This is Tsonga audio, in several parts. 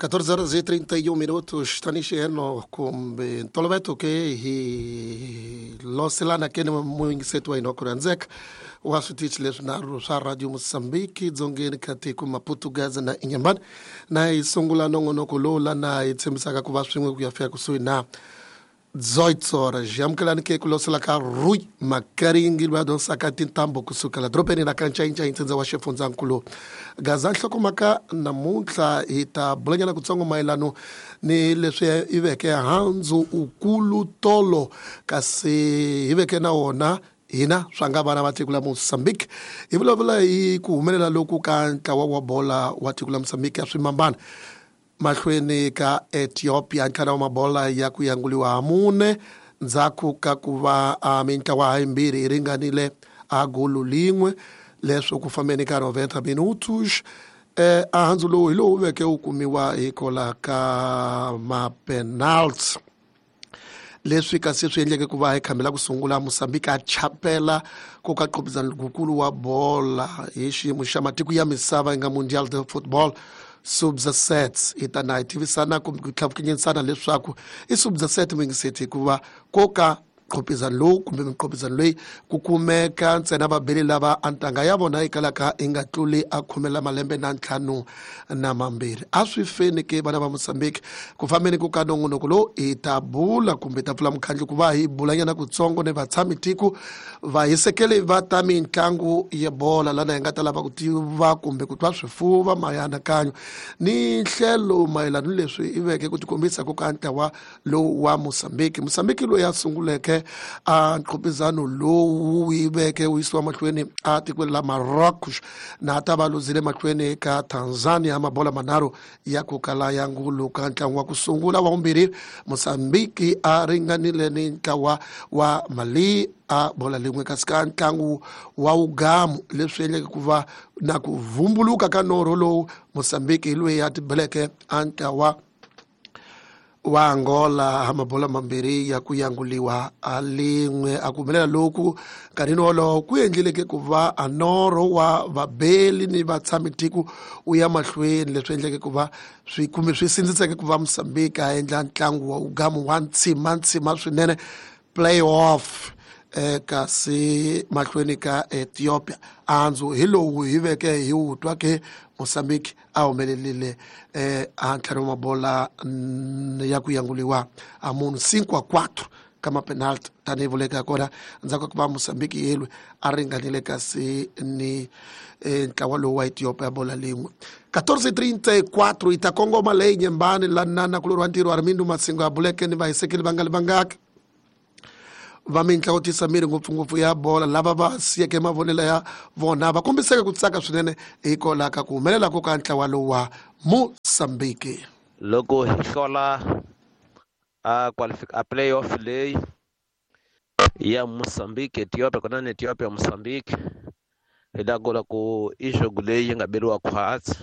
14 horas e 31 minutos tanixieno kumbe ntoloveto ke hi loselana ke ni muyingiseti wa hina wa ku rhandzeka wa switichi leswinharhu swa Radio Mozambique dzongeni ka tiko Maputo, Gaza na Inhambane. Na hi sungula nongonoko lowu lana hi tshembisaka ku va swin'we ku ya fika kusuhi na 18 horas. Amukelani ke ku losela ka Rui Makaringi loyi a dyondzisaka tintambu kusukela dorobeni ra Kancayincayi, ntsindza wa xifundzankulu Gaza. Nhlokomhaka namuntlha hi ta bulanyana kutsongo mayelano ni leswi i veke handzu ukulu tolo, kasi hi veke na wona hina swa nga vana va tiko la Mozambique. Hi vulavula hi ku humelela loku ka ntlawa wa bola wa tiko la Mozambique ya swimambana mahlweni ka Ethiopia, ntlhanu wa mabola ya ku yanguliwa ha mune ndzhaku ka ku va a mintlawa ha yimbirhi yi ringanile a golo lin'we, leswo ku fambeni ka 90 minutos. A handzu lowu hi lowu veke wu kumiwa hikola ka mapenalty, leswi kasi swi endleke ku va hi khambela ku sungula Mozambique a chapela ku ka qopizana lukulu wa bola hi xiyimo xa matiko ya misava yi nga Mundial de Football Sub-17. Hi ta na hi tivisana kumbe ku tlhavukinyisana leswaku i Sub-17 muyingiseti, hikuva ko ka qopizano lowu kumbe miqopizano leyi ku kumeka ntsena vabeli lava a ntanga ya vona yi kalaka yi nga tluli a khume la malembe na ntlhanu na mambirhi. A swi feni ke vana va Mozambique ku fambeni ku ka nongonoko lowu hi ta bula kumbe ta pfula mukhandlu ku va hi bulanyana kutsongo ni vatshami tiko vahisekeli va ta mitlangu ya bola, lana hi nga ta lava ku tiva kumbe ku twa swifuva mayanakayo ni nhlelo mayelana ni leswi i veke ku tikombisa ku ka ntlawa lowu wa Mozambique. Mozambique loyi a sunguleke a nqhopizano lowu yi veke wu yisiwa mahlweni a tikweni la Marocos, na ta va luzile mahlweni ka Tanzania mabola manharhu ya ku kala ya ngulu ka ntlangu wa ku sungula. Wa vumbirhi Mozambique a ringanile ni ntlawa wa Mali a bola lin'we, kasi ka ntlangu wa wugamu leswi endleke ku va na ku vumbuluka ka norho lowu, Mozambique hi loyi a tibeleke a ntlawa wa Angola mabola mambirhi ya ku yanguliwa a lin'we. A ku humelela loku nkarhini wolowo ku endlileke ku va a norho wa vabeli ni vatshami tiko wu ya mahlweni, leswi endleke ku va swi kumbe swi sindziseke ku va Mozambique a endla ntlangu wa wugamu wa ntshima ntshima swinene, playoff, kasi mahlweni ka Ethiopia. Andzu hi lowu hi veke hi wu twa ke Mozambique a humelerile a ntlhanu wa mabola ya ku yanguliwa a munhu 5 a 4 ka mapenalty, tanihi vuleka kona ndzhaku ka ku va Mozambique yelwe a ringanile kasi ni ntlawa lowu wa Ethiopia bola lin'we. 14:34 yi ta kongoma leyi nyembani lanana kulori wa ntirho Armindo Masingo a buleke ni vahisekeli va nga li vangaki va mintlawa tisa miri ngopfungopfu ya bola, lava va siyeke mavonelo ya vona va kombiseke ku tsaka swinene hikwalaho ka ku humelela ko ka ntlawa lowu wa Mozambique. Loko hi hlola a a playoff leyi ya Mozambique Ethiopia kona na Ethiopia Mozambique, hi ta kula ku i jogo leyi yi nga beriwa khwatsi.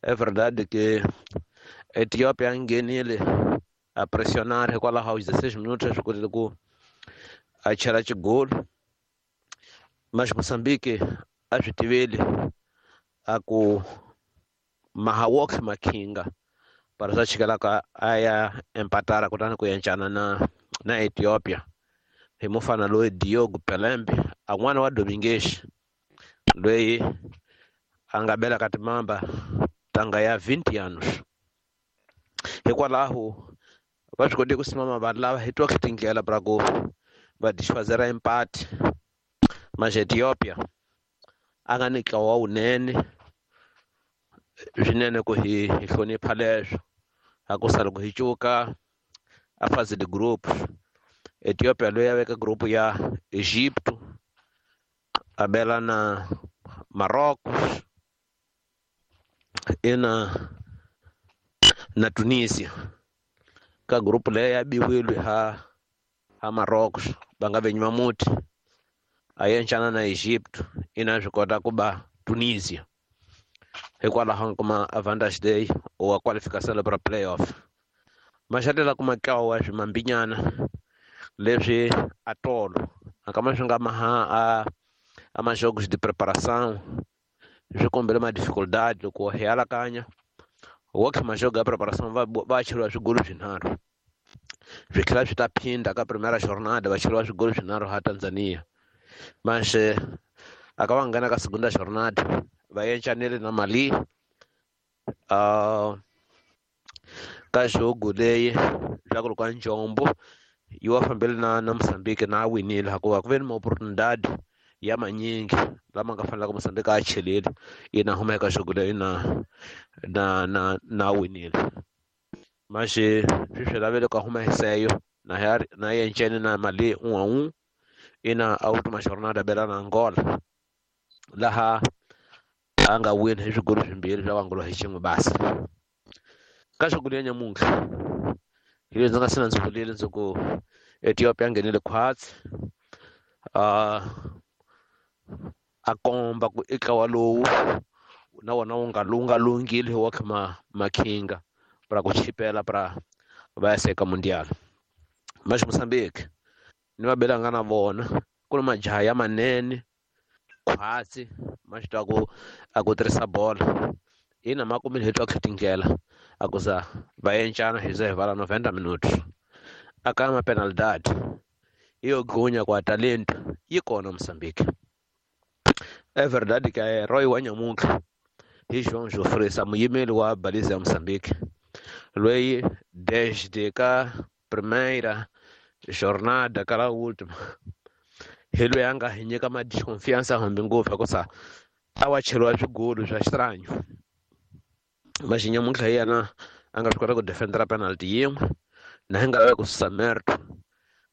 É verdade que Ethiopia nghenile a pressionar, hikwalaho 16 minutos swi kotile ku a chela xigolo, mas Mozambique a swi tiveli a ku mahawok makhinga para swa chikelaka a ya empatara, kutani ku encana na Ethiopia hi mufana loyi Diogo Pelembe, a n'wana wa Domingues loyi a nga bela ka timamba tanga ya 20 anos. Hikwalaho va swi kotile ku simama vanhu lava hi twa tindlela pra ku va desfazera empate, mas Ethiopia a nga ni ntlawa wunene swinene ku hi hlonipha leswo a ku sa loko hi cuka a fase de grupos, Ethiopia loyi a veka group ya Egypto a bela na Marrocos ina na Tunisia. Ka group leyi ya biwile ha Marrocos, va nga venyi muti a yencana na Egypto ina swi kota ku ba Tunisia, hikwalaho kuma advantage leyi wa qualification para playoff. Maxatela kuma ntlawa swimambinyana leswi atolo akama swi nga maha a majogos de preparação swi kombele ma dificuldade loko hi alakanya. Wokhe majogo ya preparação va cheriwa swigolo swinharhu swi tlhela swi ta phinda ka primera jornada va cheriwa swigolo swinharhu ha Tanzania. Manxe a ka va nghena ka segunda jornada va yencanile na Mali ka jogo leyi swa ku ri ka Njombo yi wa fambele na Mozambique na a winile hikuva ku ve ni maoportunidade ya manyingi lama nga fanelaka Mozambique a chelile ina huma eka jogo leyi na winile. Manxe swi swi lavele ka huma hiseyo na yencene na Mali 1-1 ina a última jornada bela na Angola laha a nga wina hi swigolo swimbirhi swa Angola hi xin'we basi. Ka jogo leyi ya nyamuntlha hi leswi ndzi nga sina ndzi vulile ndzi ku Ethiopia nghenile khwatsi a komba ku i ntlawa lowu na wona wu nga lunga lunghile wa kha makhinga para ku chipela para va ya seka mundial. Mas Mozambique ni va belanga na vona ku ni majaha ya manene khwatsi ma swi tiva ku a ku tirhisa bolo ina ma kumile hi twa tindlela a ku za va encana hi ze hi vala 90 minutos a ka ma penalidade iyo gunya kwa talento yi kona Mozambique. É verdade que a herói wa nyamuntlha hi João Jofresa muyimeli wa baliza ya Mozambique loyi desde ka primeira jornada ka la última hi loyi a nga hi nyika ma desconfiança hambi ngopfu hikusa a wa cheriwa swigolo swa xitranyo. Maxi nyamuntlha hi yena a nga swi kota ku defendera penalty yin'we na hi nga lavi ku susa merto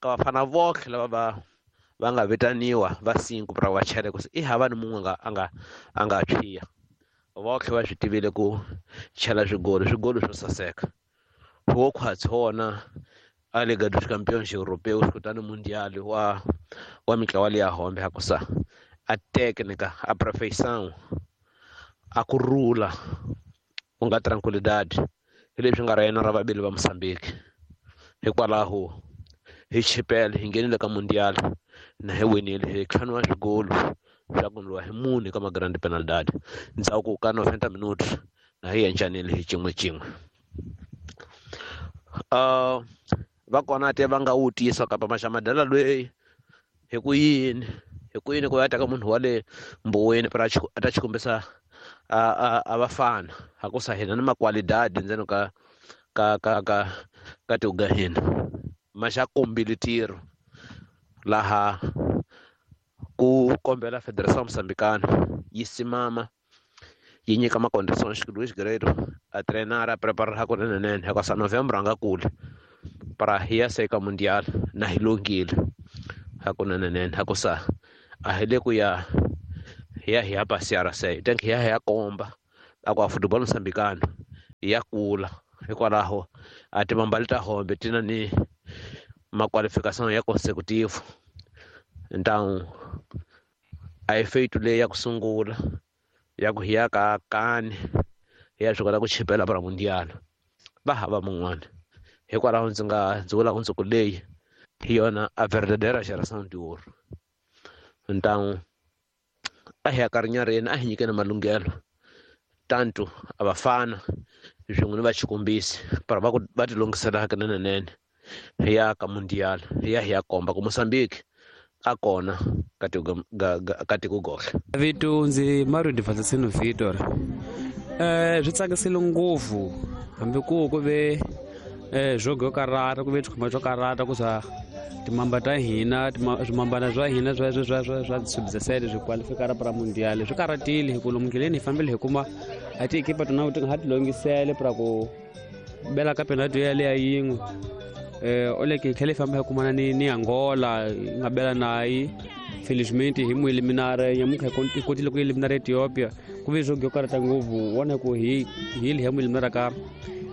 ka vafana votlhe lava va nga vitaniwa va 5 pra va chele ku i hava ni mun'we a nga tshwiya. Votlhe va swi tivile ku chela swigolo swo saseka. Wo khwatsi wona a Liga dos Campeões Europeus kutani Mundial wa mitlawa leya hombe hakusa a técnica a perfeição a ku rula ku nga tranquilidade hi leswi nga ra yena ra vavili va Mozambique. Hikwalaho hi chipele hi nghenile ka Mundial na hi winile hi tlhanu wa swigolo swa ku ndliwa hi mune ka ma-grand penalidade ndzhaku ka 90 minutos na hi yencanile hi xin'we. Va kona te va nga wu tisa kapa maxamadala loyi hi ku yini ku ya teka munhu wa le mboweni para a ta xikombisa a vafana hakusa hina ni makwalidadi ndzeni ka ka ka ka ka tiuga hina maxa kombile ntirho laha ku kombela Federação Moçambicana yi simama yi nyika macondições Luís Guerreiro a treinar a preparar hakunene hikuva Novembro a nga kuli para hi ya seka Mundial na hi lunghile hakunene hakusa a hi le ku ya hi ya passear se tank hi ya komba a ku a football moçambicano ya kula hikwalaho a timambali ta hombe tina ni maqualificação ya consecutivo. Então a hi feito leyi ya ku sungula ya ku hi ya ka kani hi ya swi kota ku chipela para Mundial va hava mun'wana. Hikwalaho ndzi vula ku ndzi ku leyi hi yona a verdadeira geração de ouro. Então a hi ya ka rinyareni a hi nyikeni malunghelo tanto a vafana swin'we ni va xikombisi para va ti lunghisela hakunene hi ya ka Mundial hi ya komba ku Mozambique a kona ka tiko gohle. Vito ndzi Mario Divatsino Vitor. Swi tsakisile ngopfu hambi ku ve jogo yo karata ku ve xikhumba xo karata ku swa timamba ta hina swimambana swa hina swa sub-17 swi qualifikara para Mundial swi karatile hi ku lomu ndleleni hi fambile hi kuma a tiekipa tona ti nga ha ti longisele para ku bela ka penalty yaleya yin'we. Oleke hi tlhela hi famba hi kumana ni Angola hi nga bela nayi felizmente hi mu eliminare nyamuntlha hi kotile ku eliminara Ethiopia ku ve jogo yo karata ngopfu wona ku hi hi mu eliminara ka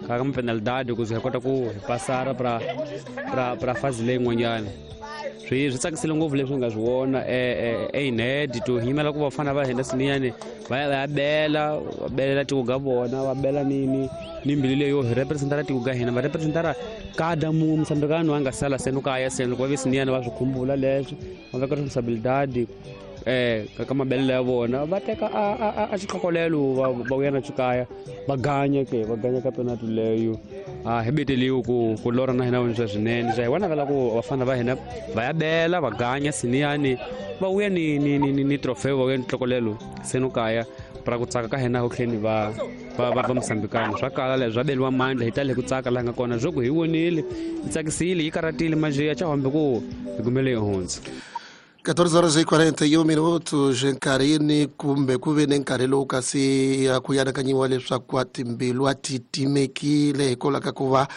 ka mapenalidade ku ze hi kota ku hi pasara pra fazi leyin'wanyana. Swi tsakisile ngopfu leswi nga swi vona einhed to hi yimela ku vafana va hina siniyani va ya bela va belela tiko ga vona va bela ni mbilu leyo hi representara tiko ga hina va representara kada munhu Moçambicano a nga sala seno kaya seno loko va ve siniyani va swi khumbula leswi va veka responsabilidade ka mabelelo ya vona va teka a xikhokolelo va vuya na xikaya va ganya ke va ganya ka penalty leyo a hi beteliwe ku lora na hina swa swinene swa hi vona vela ku vafana va hina va ya bela va ganya siniyani va vuya ni trofeo va vuya ni tlokolelo seno kaya pra ku tsaka ka hina ho tlheni va Mosambikana swa kala leswi swa beliwa mandla hi tale ku tsaka laha nga kona swo ku hi vonile yi tsakisile yi karatile manje ya chahambe ku hi kumele hi hundza. 14h41 minutos nkarhini kumbe ku ve ni nkarhi lowu kasi ku anakanyiwa leswaku a timbilu a ti timekile hikwalaho ka ku va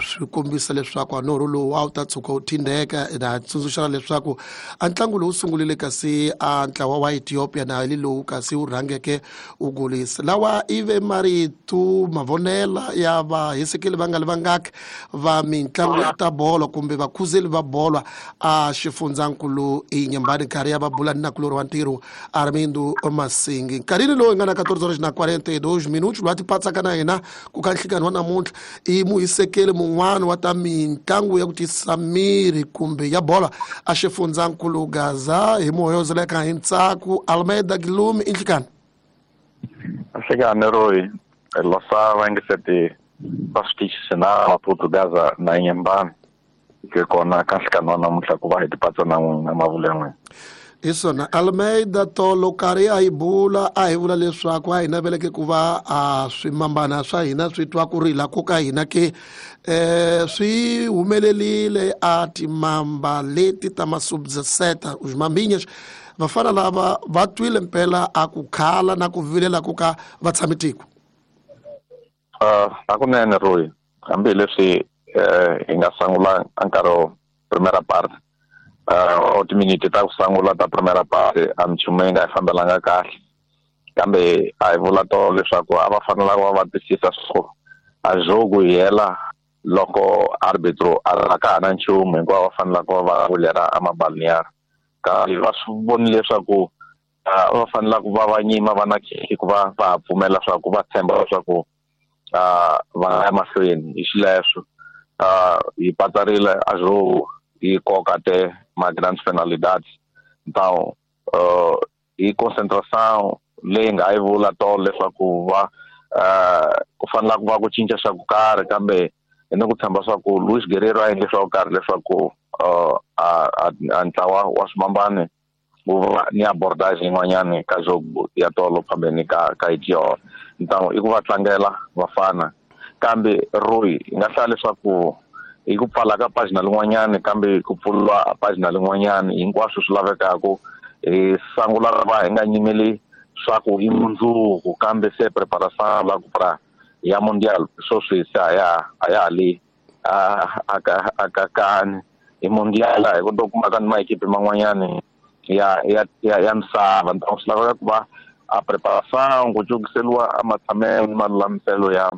swi kombisa leswaku a norho lowu a wu ta tshuka wu thindeka. Na tsundzuxana leswaku a ntlangu lowu sungulile kasi a ntlawa wa Ethiopia na hi lowu kasi wu rhangeke wu golisa. Lawa i ve marito mavonela ya vahisekeli va nga li vangaki va mitlangu ya ta bolo kumbe vakhuzeli va bolo a xifundzankulu Inhambane nkarhi ya va bula ni nakulori wa ntirho Armindo Masingi. Nkarhini lowu hi nga na 14h42 minutos loyi a tipatsaka na hina ku ka nhlikani wa namuntlha i muhisekeli mun'wana wa ta mitlangu ya ku tisa miri kumbe ya bola a xifundzankulu Gaza hi muhoyozeleka hi ntsako Almeida Guilherme. I nhlikani. Nhlikani Roy losa va ngiseti va switichi na Maputo Gaza na Inhambane ke kona ka nhlikani wa namuntlha ku va hi tipatsa na n'wina mavula n'wina. Hi swona Almeida tolo karhi a hi bula a hi vula leswaku a hi naveleke ku va a swimambana swa hina swi twa ku rila ko ka hina ke swi humelerile a timamba leti ta masubseta os vafana lava va twile mpela a ku khala na ku vilela ku ka va tshami tiko. Hakunene Roy, hambileswi hi nga sungula nkarhi primera parte o timiniti ta ku sungula ta primera parte a minchumu yi nga hi fambelanga kahle kambe a hi vula tolo leswaku a va fanelanga va va twisisa swo a jogo yi hela loko arbitro a ka ha na nchumu hinkwavo va fanelaka va vulera a mabalniyara kambe va swi vonile leswaku va fanelaka va va nyima va na khekhe ku va va ha pfumela leswaku va tshemba leswaku va nga ya mahlweni hi xileswo. Hi patsarile a jogo hi koka te ma grandes penalidades. Então hi concentração leyi nga yi vula tolo leswaku va ku fanela ku va ku cinca swa ku karhi kambe hi ni ku tshemba swa ku Luis Guerrero a endle swa ku karhi leswaku a ntlawa wa swimambane wu va ni abordage yin'wanyani ka jogo ya tolo phambeni ka Ethiopia. Então i ku va tlangela vafana kambe Roy hi nga hlaya leswaku hi ku pfala ka pagina lin'wanyani kambe ku pfuriwa pagina lin'wanyani hinkwaswo swi lavekaku hi sungula va hi nga nyimeli swa ku i mundzuku kambe se preparação la ku pra ya mundial sweswi se a ya ha le a ka kani hi mundial hi ku to kuma ka ni maekipi man'wanyani ya misava. Então swi laveka ku va a preparação ku cukiseliwa a matshamelo ni malulamiselo ya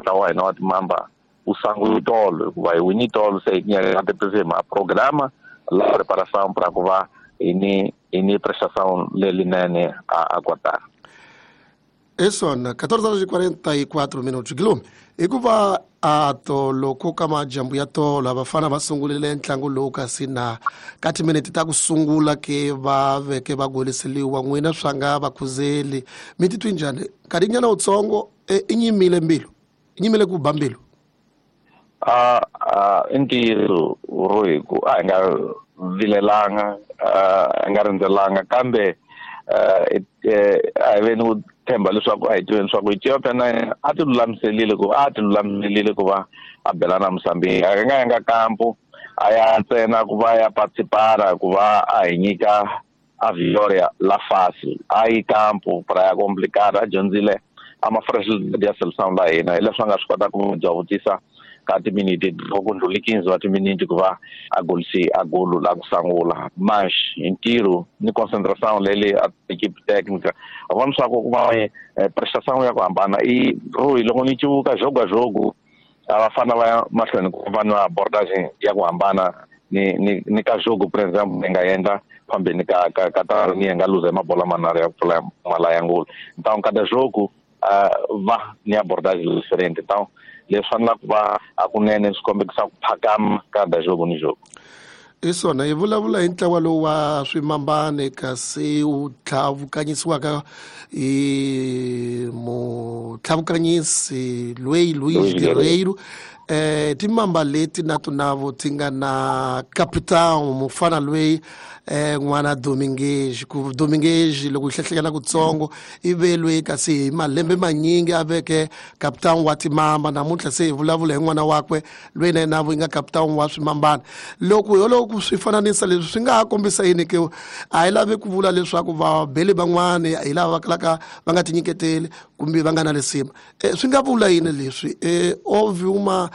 ntlawa wa hina wa timamba u sungula tolo hikuva hi wini tolo se hi nyaka tipizima a programa la preparação para ku va hi ni prestação lelinene a kotara. Hi swona 14h44 minutos Guilherme hikuva a tolo ku ka majambu ya tolo vafana va sungurile ntlangu lowu kasi na ka timinete ta ku sungula ke va veke va goliseliwa n'wina swa nga vakhuzeli mi titwi njhani nkarhinyana wutsongo i nyimile mbilu i nyimile ku ba mbilu? I ntiyiso Roy ku a hi nga vilelanga a hi nga rindzelanga kambe a hi ve ni ku tshemba leswaku a hi tiveni leswaku Ethiopia na yena a ti lulamiselile ku va a bela na Mozambique. A nga yanga kampo a ya ntsena ku va ya participara ku va a hi nyika a victoria la fácil a yi kampo para ya complicar a dyondzile a ma fragilidade ya seleção la hina hileswi a nga swi kota ku dyavutisa ka timiniti loko ndlhuli 15 wa timiniti ku va a golisi a golo la ku sungula mas hi ntirho ni concentração leyi a equipe técnica a vona swa ku va prestação ya ku hambana i Roy loko ni civuka jogo a jogo a va fana va ya mahlweni ku va na abordagem ya ku hambana ni ka jogo por exemple ni nga endla phambeni ka ka ni nga luza mabola manharhu ya ku pfula mala ya ngolo. Então cada jogo va ni abordagem diferente. Então leswi fanelaka ku va hakunene swi kombekisa ku phakama ka da jogo ni jogo. Hi swona hi vulavula hi ntlawa lowu wa swimambane kasi wu tlhavukanyisiwaka hi mutlhavukanyisi loyi Luis Guerreiro. Timamba leti na tunavo ti nga na capitão mufana loyi n'wana Dominguez. Ku Dominguez loko hi hlehlekela kutsongo i ve loyi kasi hi malembe manyingi a veke capitão wa timamba. Namuntlha se hi vulavula hi n'wana wakwe loyi na yena yi nga capitão wa swimambana. Loko ho loko swi fananisa leswi swi nga ha kombisa yini ke? A hi lavi ku vula leswaku vabeli van'wani hi lava va kalaka va nga tinyiketeli kumbe va nga na lisima. Swi nga vula yini leswi? Houve uma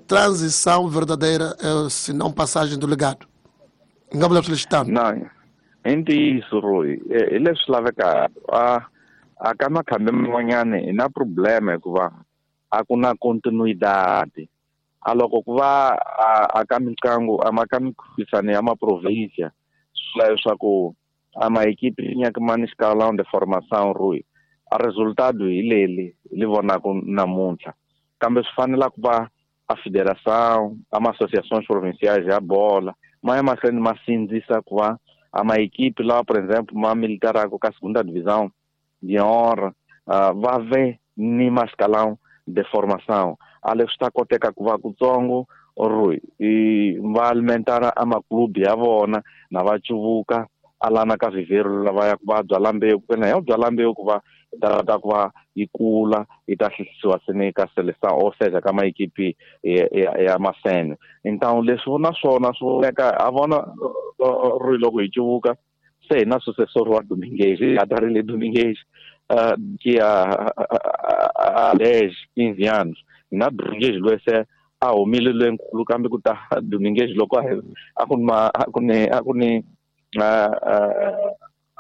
transição verdadeira, se não passagem do legado. Nga vula swilo xitano? Na i ntiyiso Roy, hi leswi lavekaka. A ka makhambi man'wanyani hi na problema hikuva a ku na continuidade. A loko ku va a ka mitlangu a ka mikhuphisano ya maprovincia, swi vula leswaku a maekipi nyaka ma ni escalão de formação Roy, a resultado hi leli hi li vonaka namuntlha. Kambe swi fanela ku va a federação, a ma-associações provinciais ya bola ma ya mahlweni ma sindzisa ku va a maekipi lawa, por exemple, ma militaraka ka segunda divisão de honra, va ve ni mascalão de formação. A leswi ta koteka ku va kutsongo Roy, va alimentara a maklubi ya vona na va cuvuka alana ka vivero lava ya ku va byala mbewu, ku na ya byala mbewu ku va ta ku va yi kula yi ta hlisiwa sene ka seleção, ou seja ka maekipi ya masene. Então leswi na swona swi voneka a vona Roy, loko hi cuvuka se hi na sucessor wa Dominguez, hi ta ri le Dominguez que a 10, 15 anos hi na Dominguez loyi se a humile loyinkulu, kambe ku ta Dominguez loko a ku ni a ku ni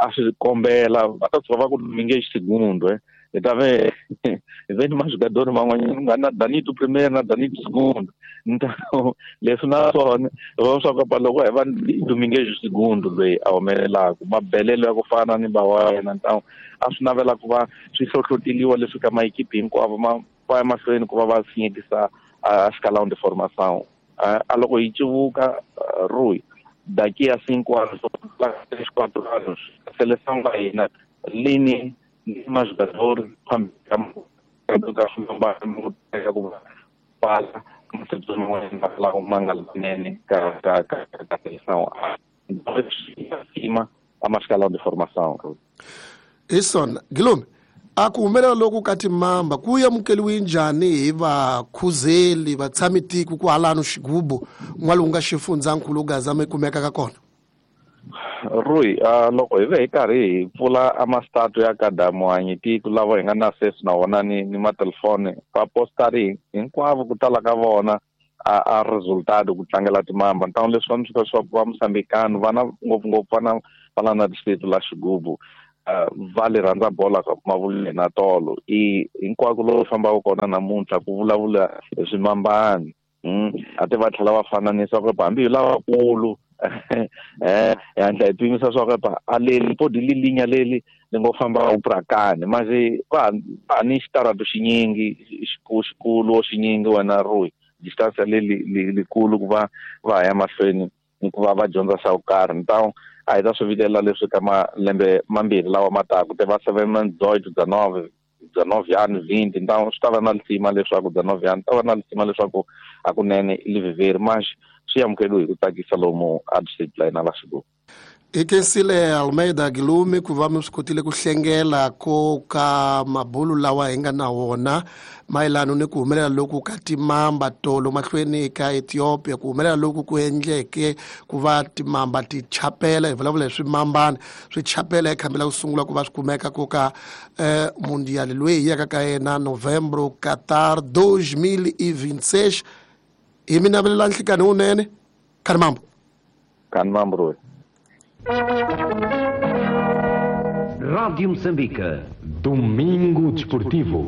a swi kombela va ta tshuka va ku Dominguez segundo, hi ta ve hi ve ni majogador man'wanyana ku nga na Danito primeiro na Danito segundo. Então leswi na swona hi vona swa ku loko hi va Dominguez segundo loyi a humelelaka mabelelo ya ku fana ni ba wa yena. Então a swi navela ku va swi hlohloteliwa leswi ka maekipi hinkwavo ma va ya mahlweni ku va va sinyekisa a escalão de formação. A loko hi cuvuka Roy, daqui a 5 anos, 3, 4 anos, a seleção da hina lini ni majogador ka ka ka seleção acima a escalão de formação. Ison Guilherme, a ku humelela loku ka timamba ku amukeliwe njhani hi vakhuzeli vatshami tiko ku halano xigubu n'walungu nga xifundzankulu Gaza mi kumeka ka kona? Roy, loko hi ve hi karhi hi pfula a mastatu ya kadamuhanyi tiko lava hi nga na access na wona ni matelefoni va postari hinkwavo ku tala ka vona a resultado ku tlangela timamba. Então leswi va mi swa ku va Mosambikano vana ngopfungopfu vana va la na distrito la Xigubu va le rhandza bola ka mavuleni na tolo i hinkwako lowu fambaka kona namuntlha ku vulavula hi swimambani. A ti va tlhela va fananisa ku hambi hi lavakulu hi hatla hi pimisa swa ku a leli podi lilinya leli li ngo famba uprakani manje va ni xitarato xinyingi xikulu xinyingi wena Roy, distance leli likulu ku va va ya mahlweni ni ku va va dyondza swa ku karhi. Então a hi ta swi vilela leswi ka malembe mambirhi lawa ma taka te va 7 18 19 19 anos 20. Então swi ta va na lisima leswaku 19 anos ta va na lisima leswaku hakunene i liviveri mas swi amukeliwe hi ku tsakisa lomu a district la hina la Xigubu. Hi khensile Almeida Guilherme ku va mi swi kotile ku hlengela ko ka mabulu lawa hi nga na wona mayelana ni ku humelela loku ka timamba tolo mahlweni ka Ethiopia, ku humelela loku ku endleke ku va timamba ti chapela, hi vulavula hi swimambana swi chapela ekhambi la ku sungula ku va swi kumeka ko ka mundial loyi hi yaka ka yena Novembro Qatar 2026. Hi mi navelela nhlikani wunene. Khanimambo. Khanimambo Roy. Rádio Moçambique. Domingo Desportivo.